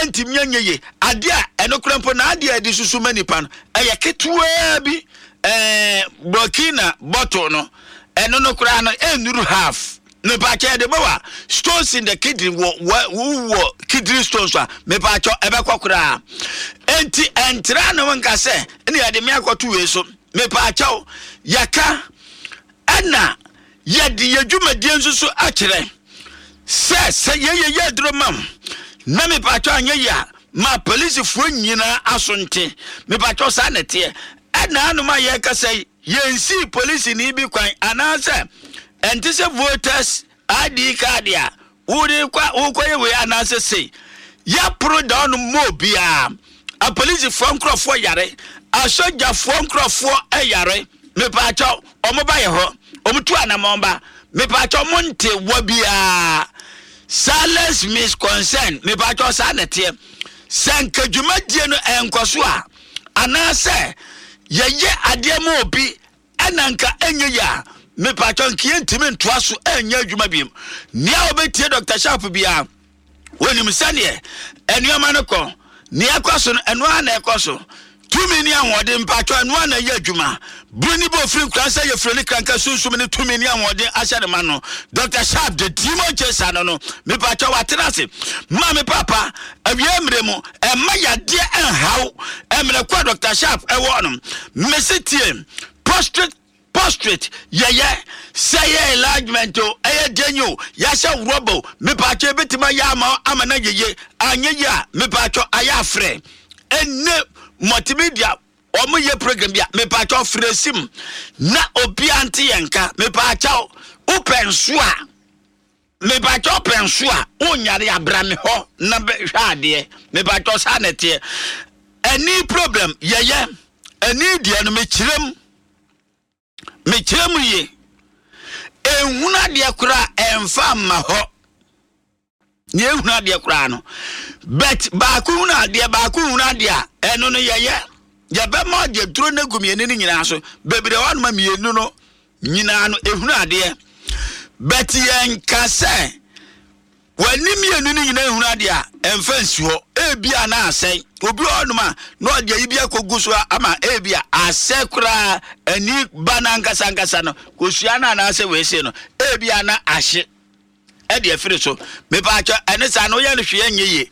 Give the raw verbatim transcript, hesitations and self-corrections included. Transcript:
Ɛntumi anyɛ yie. Adeɛ a ɛno kora mpo na adeɛ a yɛde susu ma nipa no ɛyɛ ketewaa bi, ɛɛ burkina bottle no, ɛno no koraa no ɛnnuru half. Mepaakyɛ, yɛde bɛ wa stones in the kidney, wɔ wɔ wɔ kidney stones a, mepaakyɛ, ɛbɛkɔ koraa. Enti ɛntra ne ho nka sɛ ɛne yɛde me akɔto wei so. Mepaakyɛw, yɛka ɛna yɛde yɛ dwumadie nso so akyerɛ sɛ sɛ yɛyɛ yɛ aduro mam na mepaakyɛw anyɛ yi a, ma polisifoɔ nyinaa aso nte. Mepaakyɛw, saa na ɛteɛ. Ɛna anom a yɛrekasa yi, yɛnsii polisini bi kwan anaasɛ ɛnte sɛ voters I D card a wode kɔ wokɔyɛ wei anaasɛ sei yɛporo da ɔno ma obiara. Apolisifoɔ nkurɔfoɔ yare, asogyafoɔ nkurɔfoɔ yare. Mepaakyɛw, ɔmo ba yɛ hɔ, ɔmo tu anamɔn ba. Mepaakyɛw, mo nte wɔ biara. Silence means consent. Mepaakyɛw, saa na ɛteɛ. Sɛ nka dwumadie no ɛnkɔ so a, anaasɛ yɛyɛ adeɛ ma obi ɛna nka ɛnyɛ yi a, mepaakyɛw, nka yɛntumi ntoa so ɛnyɛ adwuma biom. Nea wɔbɛtie Doctor Sharp biara wɔnim sɛneɛ nneɛma no kɔ. Nea ɛkɔ so no, ɛno ara na ɛkɔ so. Tumi ne ahoɔden, mpatwɔ, ɛno ara na ɛyɛ adwuma. Buru ne bɛ ofiri nkura sɛ yɛfiri ne kranka sunsum ne tumi ne ahoɔden ahyɛ ne ma no. Doctor Sharp de demon chaser no no mepatwɔ, watena ase ma me papa awie mmerɛ mu. Ɛma yadeɛ ɛnhaw mmerɛ kɔ a Doctor Sharp ɛwɔ no. Mesi tie, prostate prostate yɛyɛ sɛ yɛ enlargement o, ɛyɛ den o, yɛahyɛ rɔba o, mepatwɔ, ebɛtumi ayɛ ama ama no yeye. Anyɛ yi a, mepatwɔ, ayɛ afrɛ ɛne multimedia ɔmo yɛ program bi a, mepatwɔ, frɛ sim na obiara nte yɛn nka. Mepatwɔ, wopɛ nso a, mepatwɔ, pɛ nso a wonyare abra me hɔ na bɛhwɛ adeɛ. Mepatwɔ, saa na ɛteɛ. Ɛni problem yɛyɛ ɛni deɛ no, mekyerɛ mu mekyerɛ mu yie. Ehunu adeɛ koraa ɛnfa mma hɔ nea ehunu adeɛ koraa no, but baako hunu adeɛ, baako hunu adeɛ a, ɛno no yɛyɛ yɛbɛma ɔde duro no egu mmienu no nyinaa so. Bebree hɔ nom mmienu no nyinaa no ehunu adeɛ, but yɛn ka sɛ w'ani mmienu no nyinaa ehunu adeɛ a, ɛnfa nsi hɔ. Ebi a na asɛe obi wɔ hɔnom a na ɔde ayi bi akɔgu so ama ebi a asɛ koraa. Ani ba n'ankasa ankasa no kosua no anaasɛ weese no, ebi a na ahye ɛde afiri so. Mepaakyɛ, ɛne saa no woyɛ no hwee nyɛ yie.